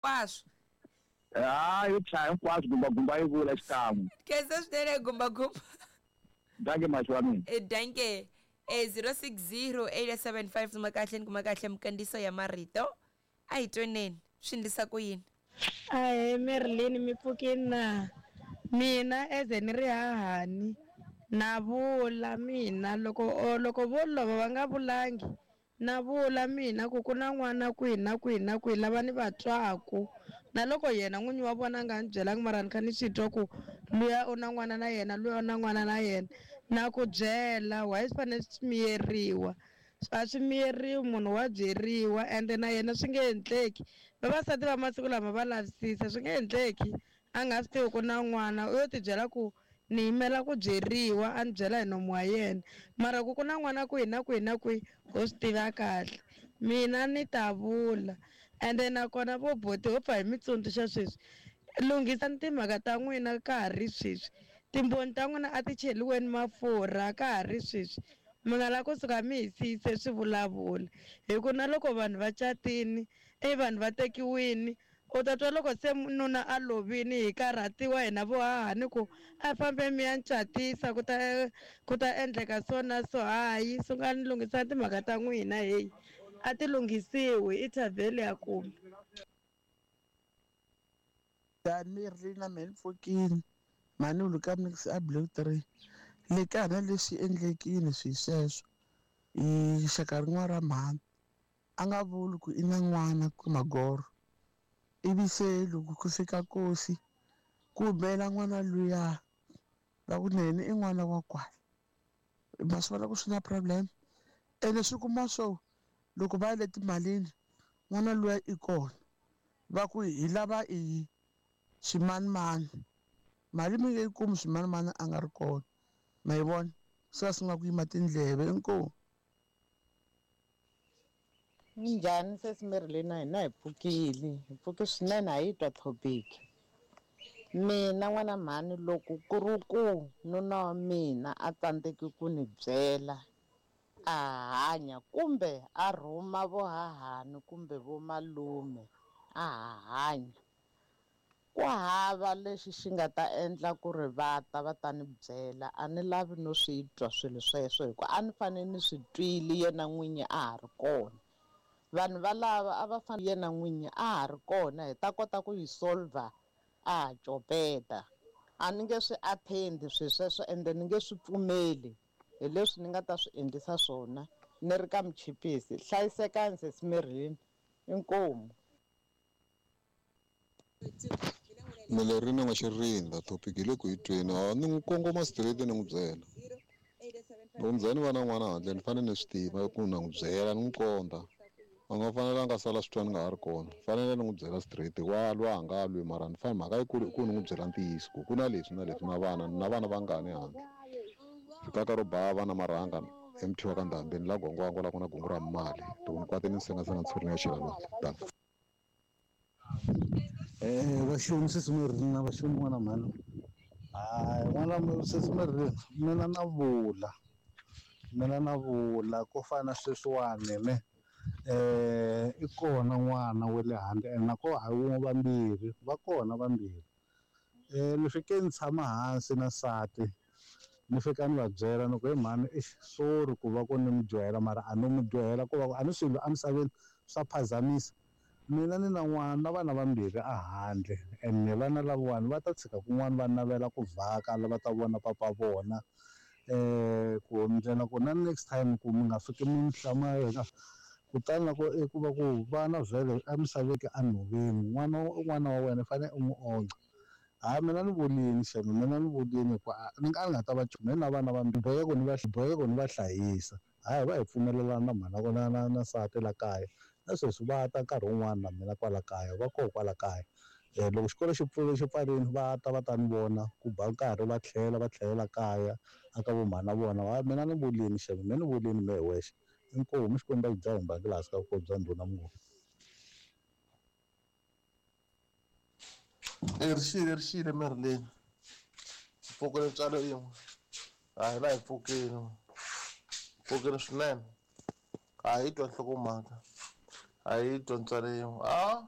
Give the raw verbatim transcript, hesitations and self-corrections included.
Hinkwaswo. Ha yo chaya hinkwaswo gumbagumba yi vula xikan'we. Khensa swinene gumbagumba. Danke mashi wa mina. E danke. E zero six zero eight seven five kuma kahle ni kuma kahle mikandziyiso ya marito. A hi tweneni swi endlisa ku yini? Ahee Marilyn mi pfukini na? Mina eze ni ri hahani na vula mina loko loko vo lova va nga vulangi na vula mina ku ku na n'wana kwihi na kwihi na kwihi lava ni va twaku na loko yena n'winyi wa vona a nga ni byelangi mara ni kha ni swi twa ku luya u na n'wana na yena luya u na n'wana na yena na ku byela why swi fanele swi miyeriwa a swi miyeriwi munhu wa byeriwa ende na yena swi nge endleki vavasati va masiku lama va lavisisa swi nge endleki a nga swi tivi ku na n'wana u yo tibyela ku ni yimela ku byeriwa a ni byela hi nomu wa yena mara ku ku na n'wana kwihi na kwihi na kwihi ho swi tiva kahle mina ni ta vula ende nakona vo boti ho pfa hi mi tsundzuxa sweswi lunghisani timhaka ta n'wina ka ha ri sweswi timbhoni ta n'wina a ti cheliweni mafurha ka ha ri sweswi mi nga la kusuka mi hi siyise swi vulavula hi ku na loko vanhu va catini i vanhu va tekiwini u ta twa loko se nuna a lovini hi karhatiwa hina vo hahani ku a fambe mi ya ncatisa ku ta ku ta endleka so na so hayi sungani lunghisani timhaka ta n'wina heyi a ti lunghisiwi i thavheli ya kuma. Njhani Marilyn na mehe ni pfukini mhani u ka mix a blue three le ka hina leswi endlekile swi sweswo i xaka rin'wana ra mhani a nga vuli ku i na n'wana ku magoro ivi se loko ku fika kosi ku humela n'wana luya va ku nene i n'wana wa kwala ma swi vona ku swi na problem ene swi kuma swo loko va ya le timalini n'wana luya i kona va ku hi lava i swimanimani mali mi nge yi kumi swimanimani a nga ri kona ma yi vona se va sungula ku yima tindleve inkomu. Minjhani sesi Marilyn hina hi pfukile hi pfuke swinene a yi twa topic mina n'wana mhani loko ku ri ku nuna wa mina a tsandzeki ku ni byela a hanya kumbe a rhuma vo hahani kumbe vo malume a ha hanya ku hava lexi xi nga ta endla ku ri va ta va ta ni byela a ni lavi no swi twa swilo sweswo hikuva a ni fanele ni swi twile yena n'winyi a ha ri kona vanhu valava a va fanele yena n'winyi a ha ri kona hi ta kota ku yi solver a ha copeta a ni nge swi attend swilo sweswo ende ni nge swi pfumeli hi leswi ni nga ta swi endlisa swona ni ri ka muchipisi hlayisekani sesi Marilyn inkomu. Marilyn nga xirinda topic hi le ku yi tweni a ni n'wi kongoma straight ni n'wi byela loko ni za ni va na n'wana handle ni fanele ni swi tiva ku na n'wi byela ni n'wi komba a nga fanelanga sala swi twa ni nga ha ri kona fanele ni n'wi byela straight wa lwa a nga lwi mara ni fanele mhaka yikulu i ku ni n'wi byela ntiyiso ku ku na leswi na leswi na vana na vana vangani handle rikaka ro ba vana marhanga M T wa ka Ndhambeni la gongwango la ku na gungu ra mali loko ni kwate ni sengasenga ntshuri ni ya chela lwandle tani. Eh vaxoni sesi Marilyn na vaxoni n'wana mhani hayi n'wana sesi Marilyn mina na vula mina na vula ko fana sweswiwani ne eh i kona n'wana wa le handle ene nako hayi wun'we vambirhi va kona vambirhi eh ni fike ni tshama hansi na nsati ni fika ni va byela ni ku he mhani eish sorry ku va ku ni mi dyohela mara a no mi dyohela ku va ku a ni swilo emisaveni swa phazamisa mina ni na n'wana na vana vambirhi a handle ene vana lavawani va ta tshika kun'wana va navela ku vhaka va ta vona papa vona eh ku ndlela ku na next time ku mi nga fiki mi hlamala kutani loko i ku va ku vana vhele emisaveni enhoveni n'wana n'wana wa wena u fanele u n'wi ondla hayi mina ni vulini xana mina ni vulini ku ni nga ni nga ta va mina na vana vambirhi boheka ku ni va boheka ku ni va hlayisa hayi va hi pfumelelana na mhana na na na nsati la kaya na sweswi va ta nkarhi wun'wani na mina kwala kaya va koho kwala kaya um loko xikolo xi pfule xi pfarile va ta va ta ni vona ku ba nkarhi va tlhela va tlhelela kaya aka vo mhana vona hayi mina ni vulini xana mina ni vulini mehe wexe inkomu Xikwembu a xi dzahi mbangi laha hansi ka vukosi bya ndhuna Mnguni. E rixile rixile Marilyn pfukile ntswalo yin'we hayi va hi pfukile pfukile swinene a hi twa nhlokomhaka a hi twa ntswalo yin'we a